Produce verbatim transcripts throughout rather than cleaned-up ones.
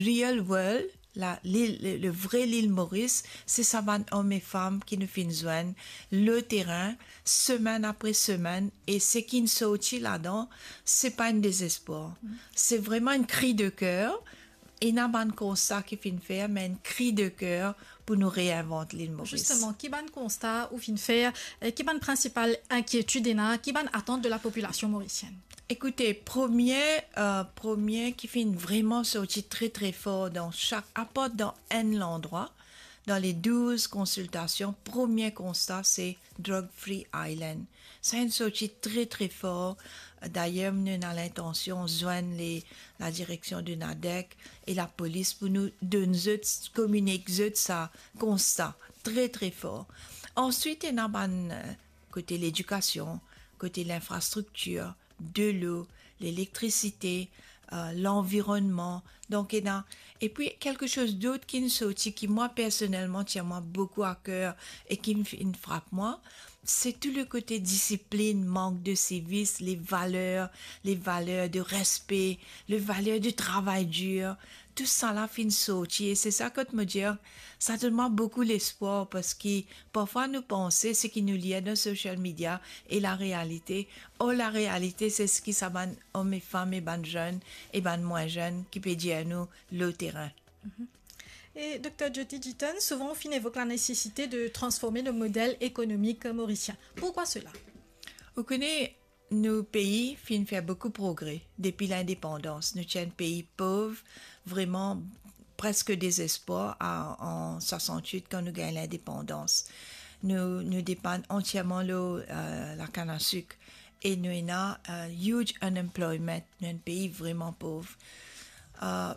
Real world, la, lil, le, le vre lil Moris, se sa bann om e fam ki nou finn zwenn lor terin, semenn apre semenn, e seki inn sorti ladan, se pa enn dezespwar. Se vremem enn kri de ker. Ena bann konsta ki finn fer, me enn kri de ker pou nou reinvant lil Moris. Zisteman, ki bann konsta ou finn fer, e ki bann prinsipal inkietid ena, ki bann atant de la popilasion morisienn? Ekoute, premie, euh, premie ki finn vremem sorti tre, tre for dan sak, apar dan enn landrwa, dan le douz konsiltasion, premie konsta, se Drug Free Island. Sa inn sorti tre, tre for. Dayer, nou ena lintansion zwenn le, la direksion de NADEC e lapolis pou nou donn zot, kominik zot sa konsta tre, tre for. Answit, ena bann, euh, kote ledikasion, kote linfrastriktir, delo, lelektrisite, euh, lanvironnman. Donk, ena, epi, kelke soz dot ki'nn sorti, ki mwa, personelman, tien mwa boukou a ker e ki finn frap mwa, se tou le kote disiplinn, mank de sivis, le valer, le valer de respe, le valer de travay dir. Tou sa la finn sorti, e se sa kot mo dir, sa donn mwa boukou lespwar, parski parfwa nou panse seki nou lir dan social media e larealite. Or, larealite, se seki sa bann om e fam e bann zenn e bann mwin zenn ki pe dir nou lor terin. Mhm. E, Dokter Jyoti Jitan, souvan ou finn evok la nesesite de transforme le model ekonomik morisien. Pourquoi cela? Ou kone, nou pei finn fer boukou progre depi lindepandans. Nou ti enn pei pov, vremem preske dezespwar a, an swasant-wit, kan nou gagn lindepandans. Nou, nou depann antierman lor, euh, lakann a sik e nou ena, euh, huge unemployment. Nou enn pei vremem pov. Euh,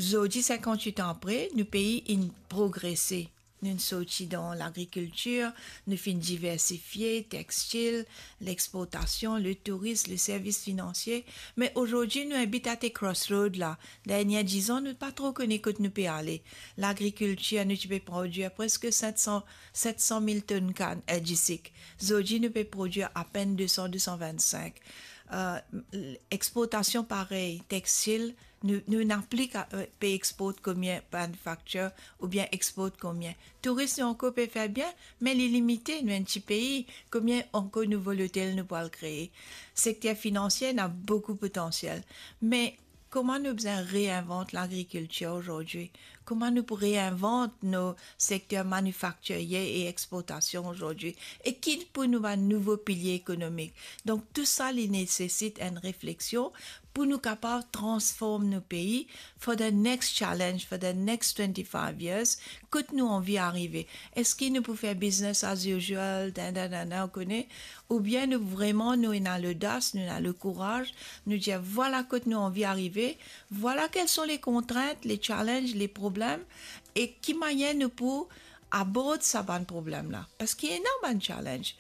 zordi, sinkant-wit an apre, nou pei inn progrese. Nou'nn sorti dan lagrikiltir, nou finn diversifie, textil, lexportasion, le tourism, le servis finansie. Me ozordi, nou abit at a crossroad la. Dernie diz an, nou pa tro kone kot nou pe ale. Lagrikiltir, nou ti pe prodwir preske set san, set san mil tonn kann, euh, disik. Zordi, nou pe prodwir apenn de san, de san vinn-sink. Euh, exportasion parey, textil, nou, nou ena pli ka, euh, pe export komie manufacture oubien export komie. Tourism, nou ankor pe fer bien, me li limite, nou enn ti pei, komie ankor nouvo lotel nou pou al kree? Sekter finansie ena boukou potansiel, me kouma nou bizin reinvant lagrikiltir ozordi? Kouma nou pou reinvant nou sekter manifaktirie e exportasion ozordi? E ki pou nou bann nouvo pilie ekonomik? Donk, tou sa, li nesesit enn refleksion pou nou kapav transform nou pei for the next challenge, for the next twenty-five years, kot nou anvi arive. Eski nou pou fer business as usual, dan, dan, dan, dan, ou kone? Oubien nou vremem, nou ena lodas, nou ena lekouraz, nou dir, vwala kot nou anvi arive, vwala kel son le kontrint, le challenge, le problem, e ki manier nou pou abord sa bann problem la. Parski ena bann challenge.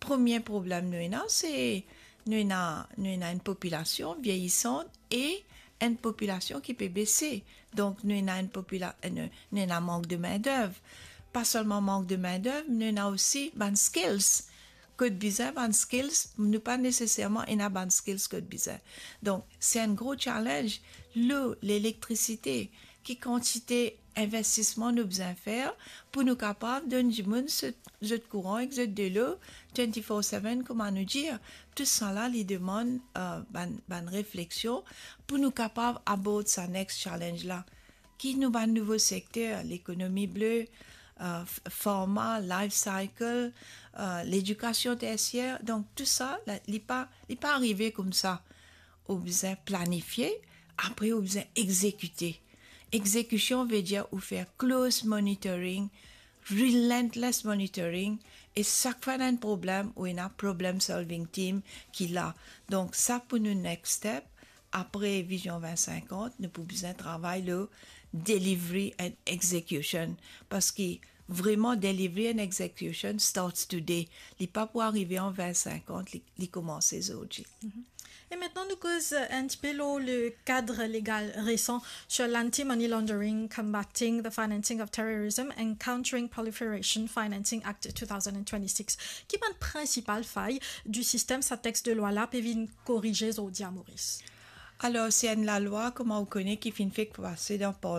Premie problem nou ena, se nou ena, nou ena enn popilasion vieyisan e enn popilasion ki pe bese. Donk, nou ena enn popila-, nou, nou ena mank de mindev. Pa selman mank de mindev, nou ena osi bann skills. Kot bizin bann skills, nou pa neseserman ena bann skills kot bizin. Donk, se enn gro challenge. Lo, lelektrisite, ki kantite investisman nou bizin fer pou nou kapav donn dimoun zot, zot kouran ek zot delo twenty-four seven, kouma nou dir. Tou sa la, li demann, euh, bann, bann refleksion pou nou kapav abord sa next challenge la. Ki nou bann nouvo sekter, lekonomi ble, euh, f-, farma, life cycle, euh, ledikasion tersier. Donk, tou sa, la, li pa, li pa arive koumsa. Ou bizin planifie, apre ou bizin exekite. Exekision ve dir ou fer close monitoring, relentless monitoring, e sak fwa ena enn problem, ou ena problem solving team ki la. Donk, sa pou nou next step. Apre Vizion vin sinkant, nou pou bizin travay lo delivery and execution. Parski vremem, delivery and execution starts today. Li pa pou arive an vin sinkant, li, li koumanse zordi. Mhm. E aster nou koz, euh, enn tipe lor le kad legal resan, sur l'Anti-Money Laundering, Combating the Financing of Terrorism and Countering Proliferation Financing Act two thousand and twenty-six. Ki bann prinsipal fay di sistem sa text de lwa la pe vinn korize zordi a Moris? Alor, se enn lalwa, kouma ou kone, ki finn fek pase dan parlman